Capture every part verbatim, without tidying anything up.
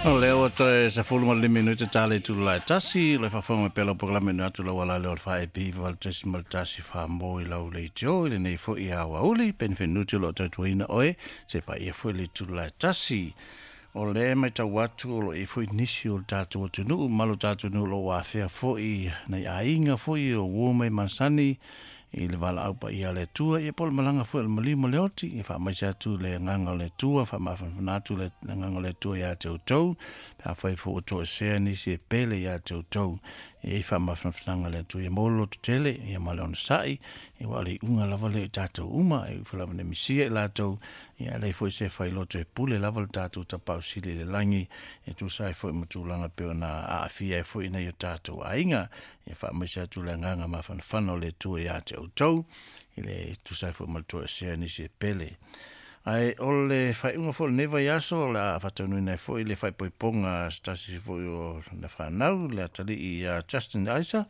O lea ua toe sefulu ma le lima minute ta le itula e tasi, le faafofoga mai pea lau polokalame inu atu lau ala lea o le faa-E P valu tesi ma le tasi faa-mo i lau leitio i lenei foi aoauli penefenuti o loo tautuaina oe se paia foi le itula e tasi. O lea matau atu o lo o i ai foi nisi o le tatou atunuu ma lo tatou nuu o lo o afea foi nai aiga foi o uo mai masani i le valaau paia a le Atua, ia po o le malaga foi o le maliu ma le oti. Ia faamaise atu le agaga o le Atua, faamafanafana atu le agaga o le Atua iā te outou pe afai foi ua toesea nisi e pele iā te outou. E i ai faamafanafanaga a le Atua, ia maua le lototele ia ma le onosai, ia ua o le iuga lava lea i tatou uma e ui lava ina misia i latou, ia e leai foi se failoto e pule lava le tatou Tapaau Sili i le lagi e tusa ai foi ma tulaga pei ona aafia ai foi nai o tatou aiga. Ia faamaise atu le agaga mafanafana o le Atua iā te outou i le tusa ai foi ma le toesea nisi e pele. Ae o le faaiuga foi o lenei vaiaso o le a faataunuuina ai foi le faaipoipoga a se tasi foi o le fanau, le atalii ia Justin Isa,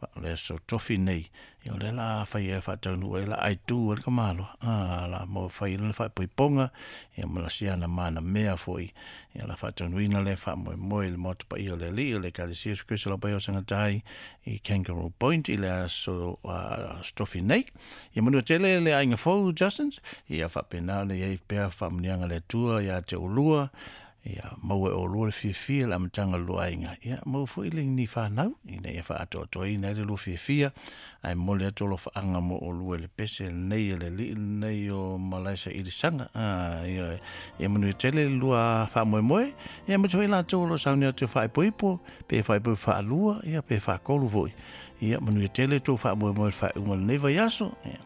o le aso Tofi nei. Ia o lea la fai ai faataunuu ai la aitu ai le tamaloa a la mo fai le faaipoipoga ia ma la siana manamea foi. Ia la faataunuuina le faamoemoe i le Maota Paia o le Alii o le Ekalesia Iesu Keriso lau Paia o Sagatai i Kangaroo Point i le aso uh, Tofi nei. Ia manua tele le aiga fou Justins, ia faapena ona i ai pea faamuniaga le Atua iā te oulua. Ia maua e oulua le fiafia le amataga o le lua aiga, ia maua foi le ni fanau ina ia faaatoatoaina ai le lua fiafia. Ae momoli atu alofaaga mo oulua i le pese lenei a le alii lenei o Malaesa Ilisaga. A ia, ia manuia tele le lua faamoemoe, ia aemaise foi latou o lo o sauni atu e faaipoipo pe faaipoipo faalua ia pe faatolu foi. Ia manuia tele tou faamoemoe i le faaiuga o lenei vaiaso. Ia.